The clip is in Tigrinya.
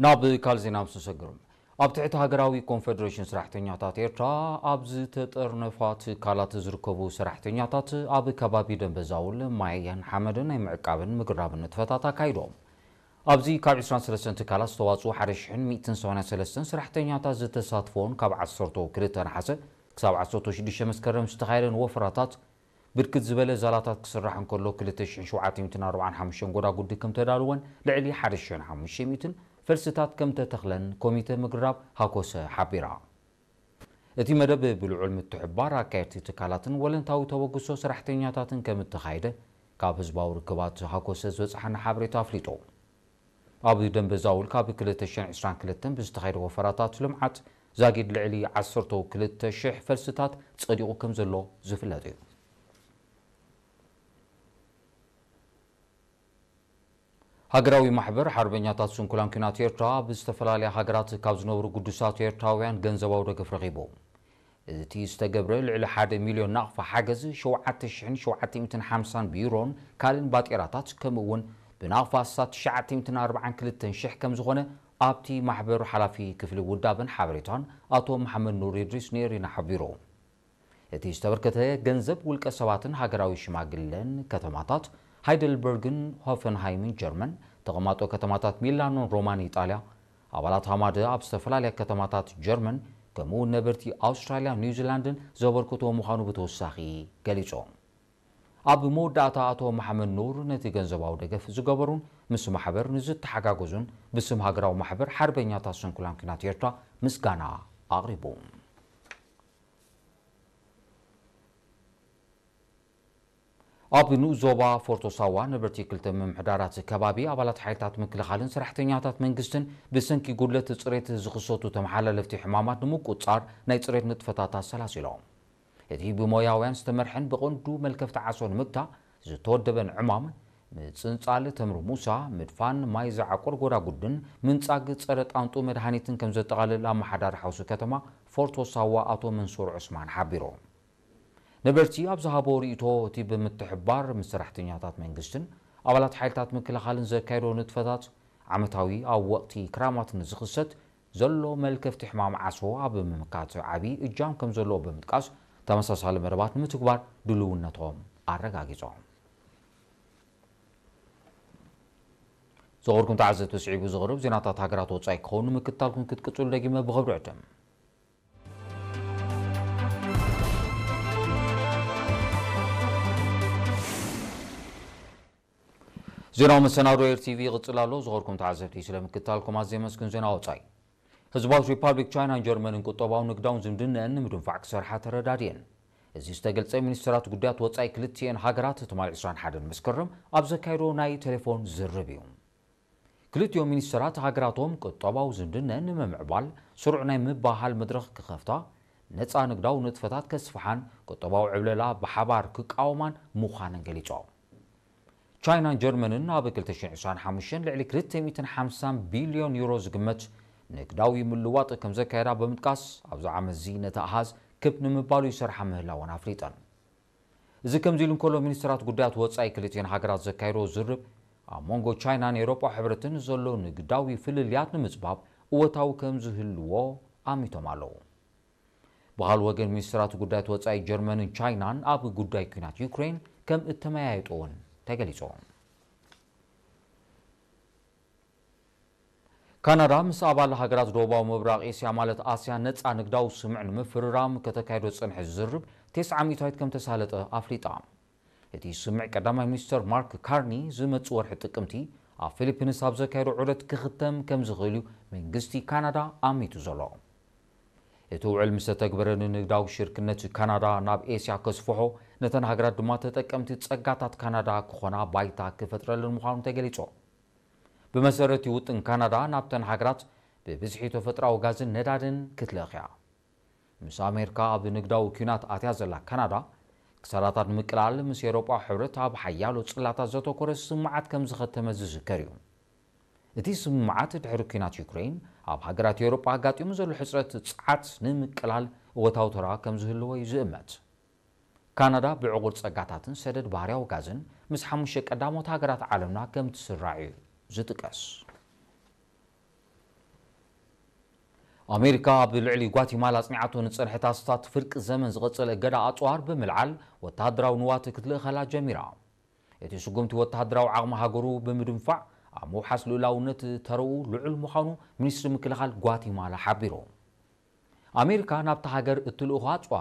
ናብ ካልእ ዜና ምስ ንሰግር፣ ኣብ ትሕቲ ሃገራዊ ኮንፈደሬሽን ሰራሕተኛታት ኤርትራ ኣብ ዝተጠርነፋ ትካላት ዝርከቡ ሰራሕተኛታት ኣብ ከባቢ ደንበዛውል፣ ማያን ሓመድን ናይ ምዕቃብን ምግራብን ንጥፈታት ኣካይዶም። ኣብዚ ካብ ዕስራን ሰለስተን ትካላት ዝተዋፅኡ ሓደ ሽሕን ሚእትን ሰማንያን ሰለስተን ሰራሕተኛታት ዝተሳትፎን ካብ ዓሰርተ ክልተ ነሓሰ ክሳብ ዓሰርተ ሽዱሽተ መስከረም ዝተኻየደን ወፈራታት ብርክት ዝበለ ዛላታት ክስራሕ እንከሎ፣ ክልተ ሽሕን ሸውዓተ ሚእትን ኣርባዓን ሓሙሽተን ጎዳጉዲ ከም ተዳልወን ልዕሊ ሓደ ሽሕን ሓሙሽተ ሚእትን ፈልስታት ከም ተተኽለን ኮሚተ ምግራብ ሃኮሰ ሓቢራ። እቲ መደብ ብልዑል ምትሕባር ኣካየድቲ ትካላትን ወለንታዊ ተበግሶ ሰራሕተኛታትን ከም እተኻየደ ካብ ህዝባዊ ርክባት ሃኮሰ ዝበጽሓና ሓበሬታ ኣፍሊጡ። ኣብ ደንበዛውል ካብ ክልተ ሽሕን ዕስራን ክልተን ብዝተኻየደ ወፈራታት ልምዓት ዛጊድ ልዕሊ ዓሰርተ ክልተ ሽሕ ፈልስታት ጸዲቑ ከም ዘሎ ዝፍለጥ እዩ። ሃገራዊ ማሕበር ሓርበኛታት ስንኩላን ኲናት ኤርትራ ኣብ ዝተፈላለያ ሃገራት ካብ ዝነብሩ ግዱሳት ኤርትራውያን ገንዘባዊ ደገፍ ረኺቡ። እቲ ዝተገብረ ልዕሊ ሓደ ሚልዮን ናቕፋ ሓገዝ ሸውዓተ ሽሕን ሸውዓተ ሚእትን ሓምሳን ቢሮን ካልእን ባጤራታት፣ ከምኡ እውን ብናቕፋ ኣስታት ትሽዓተ ሚእትን ኣርባዓን ክልተን ሽሕ ከም ዝኾነ ኣብቲ ማሕበር ሓላፊ ክፍሊ ውዳበን ሓበሬታን ኣቶ መሓመድ ኑር ኢድሪስ ንኤሪና ሓቢሩ። እቲ ዝተበርከተ ገንዘብ ውልቀ ሰባትን ሃገራዊ ሽማግለን ከተማታት ሃይደልበርግን ሆፈንሃይምን ጀርመን፣ ተቐማጦ ከተማታት ሚላኖን ሮማን ኢጣልያ፣ ኣባላት ሃማደ ኣብ ዝተፈላለያ ከተማታት ጀርመን፣ ከምኡ እውን ነበርቲ ኣውስትራልያን ኒውዚላንድን ዘበርክቶ ምዃኑ ብተወሳኺ ገሊጾም። ኣብ መወዳእታ ኣቶ መሓመድ ኑር ነቲ ገንዘባዊ ደገፍ ዝገበሩን ምስ ማሕበር ንዝተሓጋገዙን ብስም ሃገራዊ ማሕበር ሓርበኛታት ስንኩላን ኲናት ኤርትራ ምስጋና ኣቕሪቡ። ኣብ ንኡስ ዞባ ፎርቶ ሳዋ ነበርቲ ክልተ ምምሕዳራት ከባቢ ኣባላት ሓይልታት ምክልኻልን ሰራሕተኛታት መንግስትን ብሰንኪ ጉድለት ጽሬት ዝኽሰቱ ተመሓላለፍቲ ሕማማት ንምቁጽጻር ናይ ጽሬት ንጥፈታት ኣሰላሲሎም። እቲ ብሞያውያን ዝተመርሐን ብቐንዱ መልከፍቲ ዓሶ ንምግታእ ዝተወደበን ዕማም፣ ምጽንጻል ተምሪ ሙሳ፣ ምድፋን ማይ ዝዓቁር ጎዳጉድን ምንጻግ ጸረ ጣንጡ መድሃኒትን ከም ዘጠቓልል ኣመሓዳሪ ሓውሲ ከተማ ፎርቶ ሳዋ ኣቶ መንሱር ዑስማን ሓቢሩ። ነበርቲ ኣብ ዝሃቦ ርእይቶ፣ እቲ ብምትሕብባር ምስ ሰራሕተኛታት መንግስትን ኣባላት ሓይልታት ምክልኻልን ዘካየዶ ንጥፈታት ዓመታዊ ኣብ ወቕቲ ክራማት ንዝኽሰት ዘሎ መልከፍቲ ሕማም ዓሶ ኣብ ምምካት ዓቢ እጃም ከም ዘለዎ ብምጥቃስ፣ ተመሳሳሊ መደባት ንምትግባር ድልውነቶም ኣረጋጊጾም። ዝኸበርኩም ተዓዘብቲ፣ ስዒቡ ዝቐርብ ዜናታት ሃገራት ወጻኢ ክኸውን ንምክትታልኩም ክትቅጽሉ ደጊመ ብኽብሪ ዕድም። ዜናዊ መሰናዶ ኤር ቲቪ ይቕጽል ኣሎ። ዝኸበርኩም ተዓዘብቲ፣ ስለ ምክትታልኩም ኣዝየ የመስግን። ዜና ወጻኢ። ህዝባዊት ሪፓብሊክ ቻይናን ጀርመንን ቁጠባውን ንግዳውን ዝምድነአን ንምድንፋዕ ክሰርሓ ተረዳድየን። እዚ ዝተገልጸ፣ ሚኒስትራት ጉዳያት ወጻኢ ክልቲኤን ሃገራት ትማሊ ዕስራን ሓደን መስከረም ኣብ ዘካየዶ ናይ ቴሌፎን ዝርርብ እዩ። ክልቲኦም ሚኒስትራት ሃገራቶም ቁጠባዊ ዝምድነአን ንምምዕባል ስሩዕ ናይ ምብህሃል መድረኽ ክኸፍታ፣ ነጻ ንግዳዊ ንጥፈታት ከስፍሓን ቁጠባዊ ዕብለላ ብሓባር ክቃወማን ምዃነን ገሊጾም። ቻይናን ጀርመንን ኣብ ክልተ ሽሕን ዕስራን ሓሙሽተን ልዕሊ ክልተ ሚእትን ሓምሳን ቢልዮን ዩሮ ዝግመት ንግዳዊ ምልዋጥ ከም ዘካየዳ ብምጥቃስ፣ ኣብዚ ዓመት እዚ ነቲ ኣሃዝ ክብ ንምባሉ ይሰርሓ ምህላወን ኣፍሊጠን። እዚ ከምዚ ኢሉ እንከሎ፣ ሚኒስትራት ጉዳያት ወጻኢ ክልቲኤን ሃገራት ዘካየዶ ዝርብ፣ ኣብ መንጎ ቻይናን ኤውሮጳ ሕብረትን ዘሎ ንግዳዊ ፍልልያት ንምጽባብ እወታዊ ከም ዝህልዎ ኣሚቶም ኣለዉ። ብኻልእ ወገን፣ ሚኒስትራት ጉዳያት ወጻኢ ጀርመንን ቻይናን ኣብ ጉዳይ ኲናት ዩክሬን ከም እተመያየጡ እውን ተገሊጹ። ካናዳ ምስ ኣባል ሃገራት ደቡባዊ ምብራቕ ኤስያ፣ ማለት ኣስያ፣ ነጻ ንግዳዊ ስምምዕ ንምፍርራም ከተካይዶ ዝጸንሐት ዝርርብ፣ ተስዓ ሚእታዊት ከም ተሳለጠ ኣፍሊጣ። እቲ ስምምዕ፣ ቀዳማይ ሚኒስተር ማርክ ካርኒ ዝመጽእ ወርሒ ጥቅምቲ ኣብ ፊሊፒንስ ኣብ ዘካየዶ ዑደት ክኽተም ከም ዝኽእል እዩ መንግስቲ ካናዳ ኣሚቱ ዘሎ። እቲ ውዕል ምስ ተተግበረ፣ ንንግዳዊ ሽርክነት ካናዳ ናብ ኤስያ ከስፍሖ፣ ነተን ሃገራት ድማ ተጠቀምቲ ጸጋታት ካናዳ ክኾና ባይታ ክፈጥረለን ምዃኑ ተገሊጹ። ብመሰረት እቲ ውጥን፣ ካናዳ ናብተን ሃገራት ብብዝሒ ተፈጥሮኣዊ ጋዝን ነዳድን ክትልእኽ እያ። ምስ ኣሜሪካ ኣብ ንግዳዊ ኲናት ኣትያ ዘላ ካናዳ፣ ክሳራታት ንምቅላል ምስ ኤውሮጳ ሕብረት ኣብ ሓያሎ ጽላታት ዘተኮረ ስምምዓት ከም ዝኸተመት ዝዝከር እዩ። እቲ ስምምዓት፣ ድሕሪ ኲናት ዩክሬን ኣብ ሃገራት ኤውሮጳ ኣጋጢሙ ዘሎ ሕጽረት ጸዓት ንምቅላል እወታዊ ተራ ከም ዝህልዎ እዩ ዝእመት። ካናዳ ብዕቑር ጸጋታትን ሰደድ ባህርያዊ ጋዝን ምስ ሓሙሽተ ቀዳሞት ሃገራት ዓለምና ከም ትስራዕ እዩ ዝጥቀስ። ኣሜሪካ ኣብ ልዕሊ ጓቲማላ ኣጽኒዓቶ ንጸንሐት ኣስታት ፍርቂ ዘመን ዝቐጸለ እገዳ ኣጽዋር ብምልዓል ወተሃደራዊ ንዋት ክትልእኸላ ጀሚራ። እቲ ስጉምቲ ወተሃደራዊ ዓቕሚ ሃገሩ ብምድንፋዕ ኣብ ምውሓስ ልኡላውነት ተረኡ ልዑል ምዃኑ ሚኒስትሪ ምክልኻል ጓቲማላ ሓቢሩ። ኣሜሪካ ናብታ ሃገር እትልእኾ ኣጽዋር